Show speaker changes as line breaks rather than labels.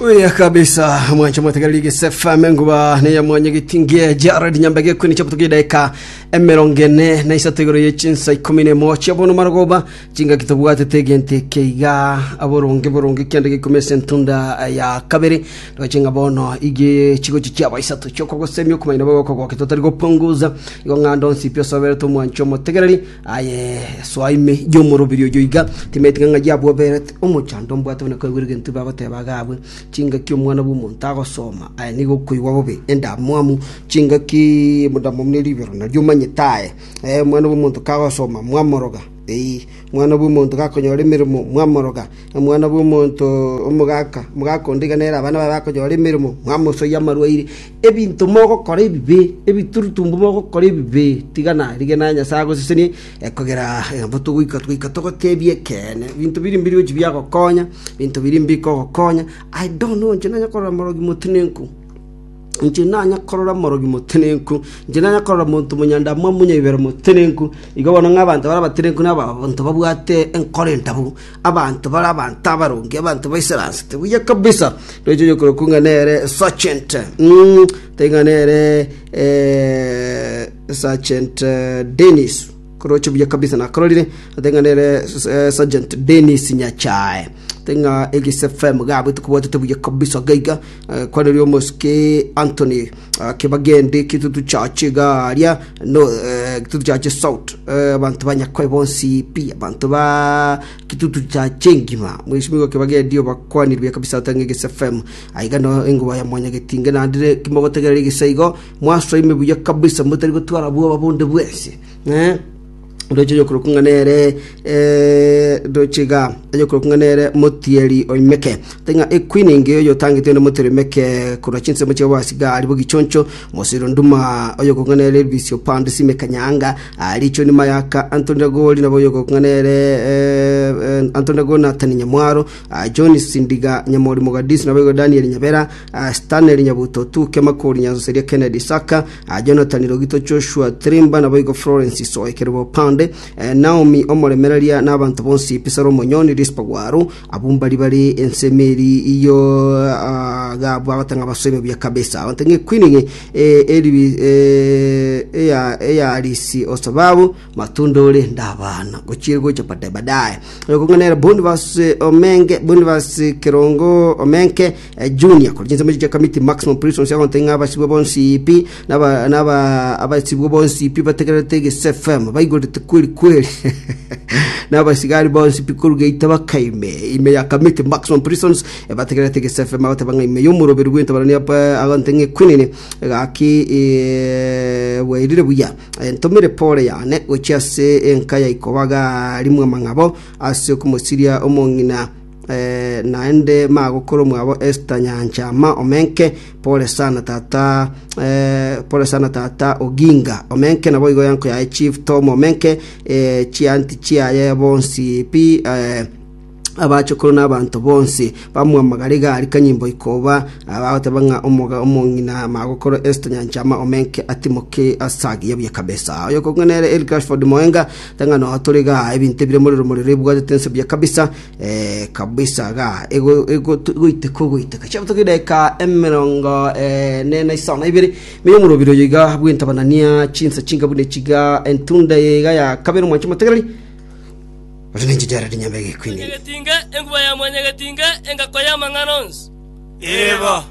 Oya kabisa mwancho mwategereri gese FM enguba neya mwanya gitingie Jared Nyambege kwini chaputu kidaika emerongo ene na isato igoro ye chinsa ikumi na emo chia bono marogoba chingaki tobwatete egento eke iga aboronge boronge kiande gikumi ase entunda ya kabere roche ng'a bono ige chigochi chiaba isato chiokogosemia okomanya nabo gokogokia totari gopunguza igo ng'a ndonsi pi osoberete omwancho omotegereri Aye soa ime y'omorobiri oyio iga, timanyeti ng'a ng'ai abwoberete omochando mbwate buna koigwera egento bagoteba iga abwe, chingaki omwana bw'omonto agosoma, aye nigo okoigwa bobe, endamwamu, chingaki endamwamu ne ribero nario omanyete aye, eh, omwana bw'omonto kagosoma mwamoroga, eeh, omwana bw'omonto gakonyora emeremo mwamoroga. Omwana bw'omonto omogaka, omogaka onde iga nere abana baye bakonyora emeremo, mwamosoyia amarwaire, ebinto mogokora ebibe, ebiturutumbu mogokora ebibe, tiga narigia naye Nyasae agosesenie, ekogera nabo togoika togoika togotebie ekeene, ebinto biria mbiri gochi biagokonya, ebinto biria mbikogokonya, I don't know inche nanye korora morogi motenenku, inche nanya korora morogi motenenku, inche nanya korora monto monyandamwamu monyabibero motenenku, igo bono ng'a abanto bare abatenenku na abanto babwate enkoro endabu. Abanto bare abanto abaronge, abanto baisaransete buya kabisa. Roche oyokorokwa ng'a nere Sergeant, mm, tari ng'a nere eh, Sergeant eh, Dennis. Koroche buya kabisa nakororire, ate ng'a nere eh, Sergeant Dennis Nyachae. Ate ng'a Egese FM gabwe tokobwatete buya kabisa gaiga. Eh, kwaneria omosike Anthony ah, Kebagende Kitutu Church iga aria no eh, Kitutu Church South eh, abanto ba Nyakoe bonsi pi abanto ba Kitutu Church engima mheshimiwa Kebagende obakwanire buya kabisa otang'e Egese FM aiga no enguba ya mwanyagetinge naende kimogotegerera egese igo mwasoime buya kabisa motari gotwara bwoba bonde bwensi eh. Ndoche oyokorokwa ng'a nere eh, ndoche iga oyokorokwa ng'a nere motieri oimeke Tari ng'a equeen engiya oyotangete onde motieri oimeke korwa chinsemo chia Bwasigari bogichoncho Mosiro Nduma oyokorokwa ng'a nere Elvis Opande Sime Kanyanga ah, Richoni Mayaka Anthony Ragoli nabo oyokorokwa ng'a nere eh, eh, Anthony Ragoli Nathan Nyamwaro ah, John Sindiga Nyamori Mogadisi nabo igo Daniel Nyabera ah, Stanley Nyabuto Tuke Makori Nyansoseria Kennedy Saka Ah, Jonathan Rogito Joshua Trimba naboigo Florence Soe Kerubo Pande eh, Naomi omoremereria na abanto bonsi Pisaro Omonyoni Rispa Gwaru abwo mbari bari ensemo eri iyo ah, gabwo abatang'a basoime buya kabisa abanto ng'e Queen ng'e eh, eri eh, eya eyarisi osababu matunda ore ndabana gochire gocha baadaye baadaye okong'anera Boniface Omenge Boniface Kerongo Omenke Junior korwa chinsemo chia Kamiti Maximum Prisons agontebia ng'a abasibwa bonsi pi naba naba abasibwa bonsi pi bategererete Egese FM baigorete kweri kweri na abasigari bonsi pi korwa geita bakaime ime ya Kamiti Maximum Prisons eh, bategererete Egese FM bagoteba ng'a ime y'omoroberi bw'entabarani apa agontebia ng'a equinini gaki eh, bwairire buya Eh, ntomere pole yane gochia ase enka ya ikobaga rimwe amang'abo ase okomosiria omong'ina Eh, naende magokoro mwabo Esther Nyanchama Omenke, pole sana tata eh, pole sana tata Oginga Omenke nabo igo yanko yaye Chief Tom Omenke eh, chianti chiaye bonsi pi eh, abachokoro na abanto bonsi bamwamagara egari kanyimbo ikoba bagoteba ng'a omoga omong'ina magokoro Esther Nyanchama Omenke atimoke asagiya buya kabisa oyo kong'anere Eric Rashford Moenga tang'a no tore igaa ebinto ebire morero morero ebwatete ense buya kabisa eh, kabisa igaa ego ego egoiteka ogoiteka chiabutoka edageka emerongo ene na isano na ibere menya omorobiri oyo iga bw'entabanania chinsa chinga buna echiga entunda eye iga ya kabere omwanche omotegereri ore ninche Jared Nyambege Queen
Mwanyagetinge, enguba ya mwanyagetinge, engako y'amang'ana onsi.
Eba.